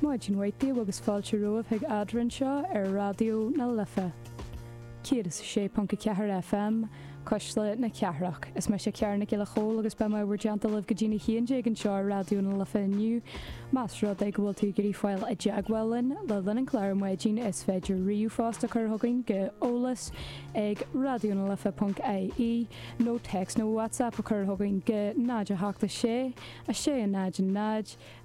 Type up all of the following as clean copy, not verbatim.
Maidin mhaith daoibh agus fáilte romhaibh chuig Eadrainn anseo ar Raidió na Life 106.4 FM, Cuisle na Cathrach. Is mise Ciara Nic Giolla Chóill agus beidh mé i bhur dteannta libh go dtí'n 11 anseo ar Raidió na Life inniu. Más rud é go bhfuil tú ag iarraidh fáil i dteagmháil linn le linn an chláir ar maidin is féidir ríomhphost a chur chugainn go eolas ag raidionalife.ie nó téacs nó WhatsApp a chur chugainn go 0 8 6 6 0 0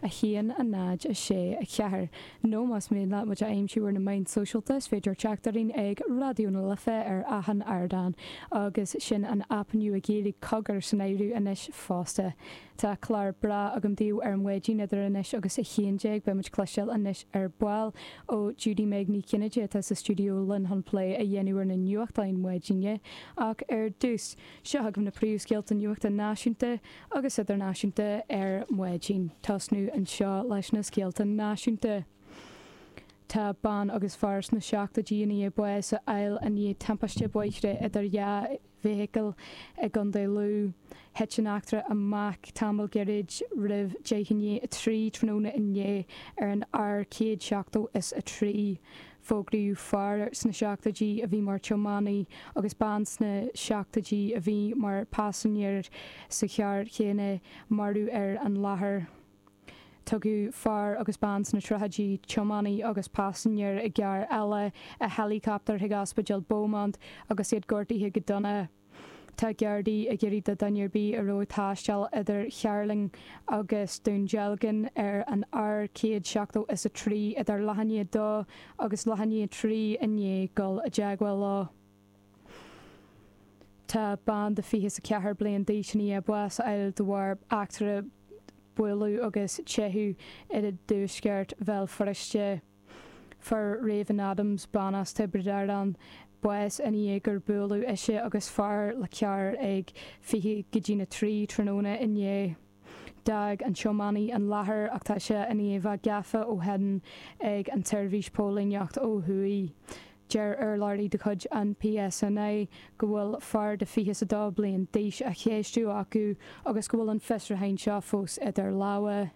1 0 6 4 Nó más mian leat muid a aimsiú ar na meáin sóisialta is féidir teacht orainn ag Raidió na Life ar achan ardán agus sin an aip nua Gaeilge Cogar san áireamh anois fosta. Tá clár breá agam daoibh ar maidin idir anois agus 11. Beidh muid ag cloisteáil anois ar ball ó Judy Meg Ní Chinnéide atá sa stiúideo linn chun plé a dhéanamh ar na nuachtáin maidine. Ach ar dtús, seo chugaibh na príomhscéalta nuachta náisiúnta agus idirnáisiúnta ar maidin. Tosnú anseo leis na scéalta náisiúnta. Tá bean agus fear sna seachtóidí i ndiaidh bás a fháil i ndiaidh timpiste bóithre idir dhá bhfeithicil i gContae Lú. Thit an eachtra amach tamall gairid roimh deich i ndiaidh a 3 tráthnóna inné ar an R173. Fógraíodh fear sna seachtóidí a bhí mar tiománaí agus bean sna seachtóidí a bhí mar paisinéir sa charr chéanna marbh ar an láthair. Tugadh fear agus bean sna tríochaidí, tiománaí agus paisinéir i gcarr eile, i héileacaptar chuig Ospidéal Beaumont agus iad gortaithe go dona. Tá Gardaí ag iarraidh do dhuine ar bith a raibh ag taisteal idir Cheatharlach agus Dún Dealgan ar an R173 idir leath i ndiaidh 2 agus leath i ndiaidh 3 inné dul i dteagmháil leo. Tá bean de 24 bliain d'aois i ndiaidh bás a fháil de bharr eachtra bualadh agus teitheadh i dtuaisceart Bhéal Feirste. Fuair Raven Adams, bean as Tiobraid Árann, bás i ndiaidh gur buaileadh ise agus fear le carr ag 20 go dtína 3 tráthnóna inné. D'fhág an tiománaí an láthair ach tá sé i ndiaidh bheith gafa ó shin ag an tseirbhís póilíneacht ó thuaidh. Deir urlabhraí de chuid an PSNI go bhfuil fear de 22 bliain d'aois á cheistiú acu agus go bhfuil an fiosrúchán seo fós idir lámha.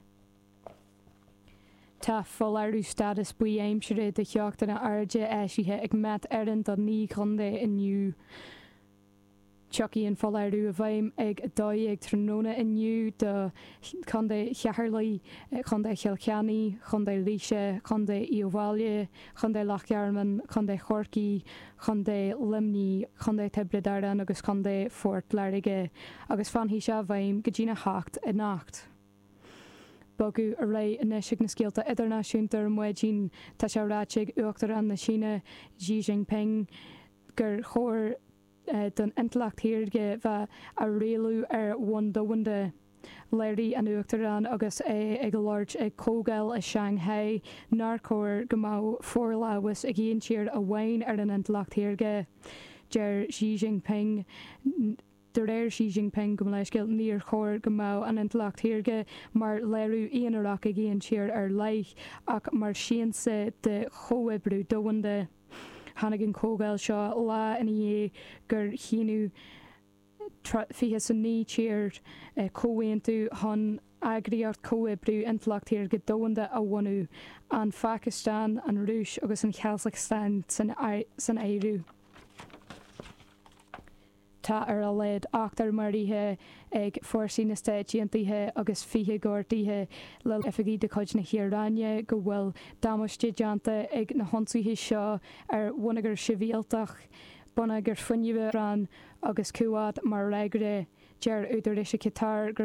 Tá foláireamh stádas buí aimsire de theochtanna airde eisithe ag Met Éireann do 9 chontae inniu. Tiocfaidh an foláireamh i bhfeidhm ag 12 tráthnóna inniu do Chontae Cheatharlaigh, Contae Chill Chainnigh, Contae Laoise, Contae Uíbh Fhailí, Contae Loch Garman, Contae Chorcaí, Contae Luimnigh, Contae Tiobraid Árann agus Contae Phort Láirge agus fanfaidh sé i bhfeidhm go dtína 8 anocht. Bogadh ar aghaidh anois chuig na scéalta idirnáisiúnta ar maidin. Tá sé ráite ag Uachtarán na Síne, Xi Jinping, gur chóir don intleacht shaorga bheith á rialú ar bhonn domhanda. Léirigh an Uachtarán agus é ag labhairt ag comhdháil i Shanghai nár chóir go mbeadh forlámhas ag aon tír amháin ar an intleacht shaorga. Deir Xi Jinping. De réir Xi Jinping, gabh mo leithscéal, níor chóir go mbeadh an intleacht shaorga mar léiriú aonarach ag aon tír ar leith, ach mar siansa de chomhoibriú domhanda. Tháinig an chomhdháil seo lá ina dhiaidh gur shínigh 29 tír comhaontú chun Eagraíocht Comhoibriú Intleacht Shaorga Domhanda a bhunú, an Phacastáin, an Rúis agus an Chasacstáin san áireamh. Tá ar a laghad ochtar maraithe ag fórsaí na Stáit Aontaithe agus 20 gortaithe le oifigigh de chuid na hIaráine go bhfuil damáiste déanta ag na hionsaithe seo ar bhonneagar sibhialtach, bonneagar fuinnimh, agus Kuwait mar fhreagra. Deir údaráis i Qatar gur.